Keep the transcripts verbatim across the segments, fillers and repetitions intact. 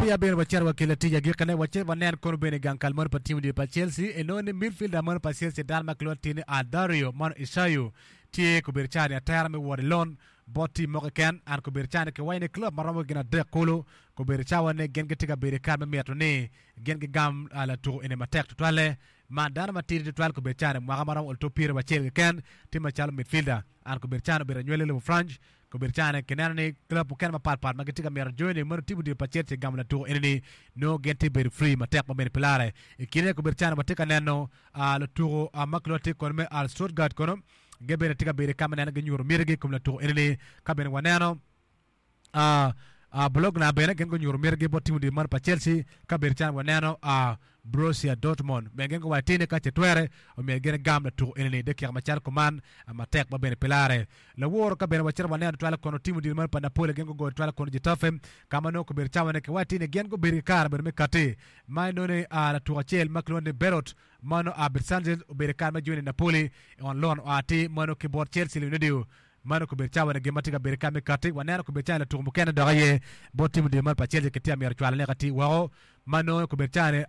Peya bene wacito wa kelo tic agikine wacito wanen kono bene gang kal moni pa tim odilo pa Chelsea enongo ni midfielder moni pa Chelsea dano ma kilwongo tye ni Dario mano Isayo tye kobedo cani atera me wot i loan bot tim mo keken an kobedo cani kiwaco ni club maromo gin adek kulu kobedo cawa ni gin gitye ka bedo i kare me mito ni gin gigam latuko eni matek tutwalle man dano matidi tutwal kobedo cani mwaka maromo oluto pyeri wacel keken tye macalo midfielder an kobedo cani obedo anywali lobo France kobedo cani kineno ni club mukene mapatpat ma gitye ka mito joining meno tim odilo pa Chelsea gamo latuko eni ni nongo gin tye bedo free matek ma bene pi lare i kine kobedo cani watye ka neno lutuko ma kilwongo tye kono me Al Stuttgart kono gin bene tye ka bedo ka me neno ginyuto mitigi i kom latuko eni ni ka bene waneno Bologna bene gin gunyuto mitigi bot tim odilo mano pa Chelsea ka bedo calo waneno Borussia Dortmund bene gin guwaco tye ni ka ce twere omyero gin egam latuko eni ni dakika macalo kuman matek ma bene pi lare laworo ka bene wacito waneno tutwal kono tim odilo mano pa Napoli gin gugoyo tutwal kono Getafe ka ma nongo kobedo cawa-ni kiwaco tye ni gin gubedo ki kare bedo me kati ma inongo ni latuko acel ma kilwongo ni Berot mano Abed Sanchez obedo i kare me joining Napoli on loan oa atir mano ki bot Chelsea Leonardo Mano kobedo cawa-ni gin ma tye ka bedo ka me kati. Waneno kobedo cawa-ni latuko mukene dok aye bot tim odilo meno pa Chelsea kitye ka myero cwalone ka tye woko. Ma nongo kobedo cawa-ni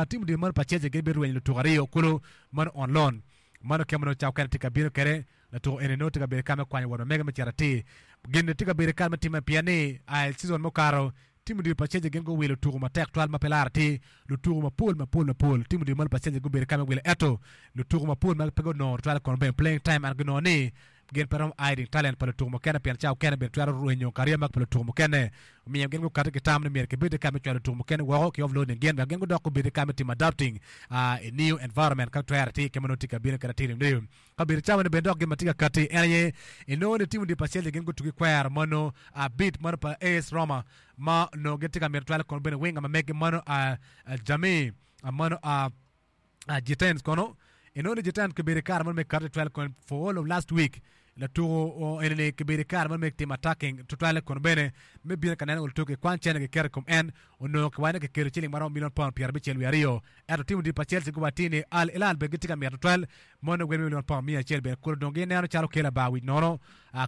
tim odilo meno pa Chelsea gibirwenyo lutuko aryo kulu mano on loan. Mano kema nongo cawa mukene tye ka bino kwede. Latuko eni nongo tye ka bedo ka me kwanyo wot ma mege me cito atir. Gin-ni tye ka bedo kare me timme pien ni i season mukato Tim odilo pa Chelsea gin guwilo tuko matek twal ma pe laro atir. Lutuko mapol mapol mapol tim odilo malo pa Chelsea gubedo ka me wilo ento lutuko mapol ma pe gunongo tutwal kono bene playing time and ginongo ni gin pe romo hiding talent pa lutuko mukene pien cawa okene bene twero rwenyo kariya mag pa lutuko mukene. Omiyo gin gukati ki tam ni myero kibed ka me cwalo lutuko mukene woko ki offloading gin wek gin gudok gubed ka me timo adapting i new environment ka twero atir ki ma nongo tye ka bino kwede atir niyo. Kabedo cawa ni bene dok gin ma tye ka kati en aye inongo ni tim odilo pa Chelsea gin gutugi kwero mano abit mano pa A S Roma ma onongo gin tye ka mito twalo kono bene winga ma megi mano Jamie mano Gittens kono inongo ni Gittens kibedo i kare mano me kati twalo kono for all of last week latuko eni ni kibedo i kare mano me timo attacking tutwale kono bene me bino ka neno lutuki kwan cene giketo i kom en onongo kiwaco ni kikelo ciling maromo milion pound pyerabicel wiye aryo ento tim odilo pa Chelsea guwaco atir ni Al Hilal bene gitye ka mito tutwal Mono wel milion pound miya acel bene kulu dong gineno calo kelo abar wic nono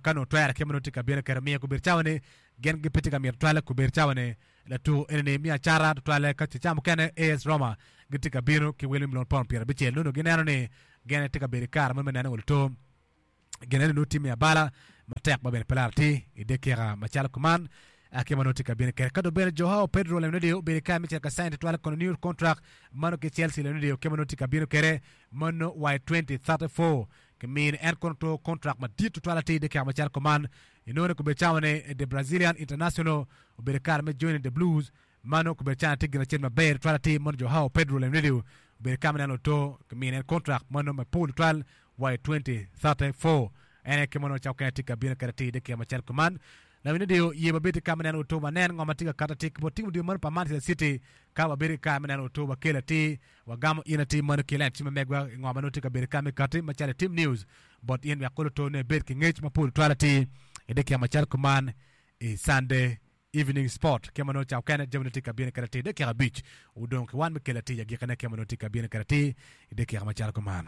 ka nongo twere kit ma nongo tye ka bino kwede omiyo gubedo cawa ni gin gipe tye ka mito tutwalle gubedo cawa ni latuko eni ni miyo acata tutwalle ka ce ca mukene A S Roma gitye ka bino ki wel me milion pound pyerabicel nongo gineno ni gin tye ka bedo i kare mo me neno oluto gin eni nongo tye me abala matek ma bene pe laro atir i dakika macalo kuman kit ma nongo tye ka bino kwede. Ka dong bene Joao Pedro Leonardo obedo i kare me cito ka sign tutwal kono new contract mano ki Chelsea Leonardo kit ma nongo tye ka bino kwede mano wa i twenty thirty four kimine en kono to contract madit tutwal atir i dakika macalo kuman inongo ni kobedo cawa ni the Brazilian international obedo i kare me joining the Blues Mano obedo calo tye gin acel maber tutwal atir mono Joao Pedro Leonardo obedo ka ma neno oto kimine en kontrak mano mapol tutwal wa i twenty thirty four. En aye kit ma onongo cako kene tye ka bino kwede atir i kine macalo kuman. Leonardo ye wabed ki ka me neno oto wanen ngo ma tye ka kato atir ki bot tim odilo mano pa Manchester City ka wabedo ki kare me neno oto wakelo atir wagamo in atir mano ki line cim ma megwa i ngo ma nongo tye ka bedo ka me kati macalo i tim news bot in wek kulu oto ne ibed ki ngec mapol tutwal atir i dye kine macalo kuman i Sunday Evening Sport, Kema nongo cako kene, jami nongo tye ka bino kede atir dakika abic odong ki wan me kelo atir agikine kema nongo tye ka bino kede atir i dakika macalo kuman.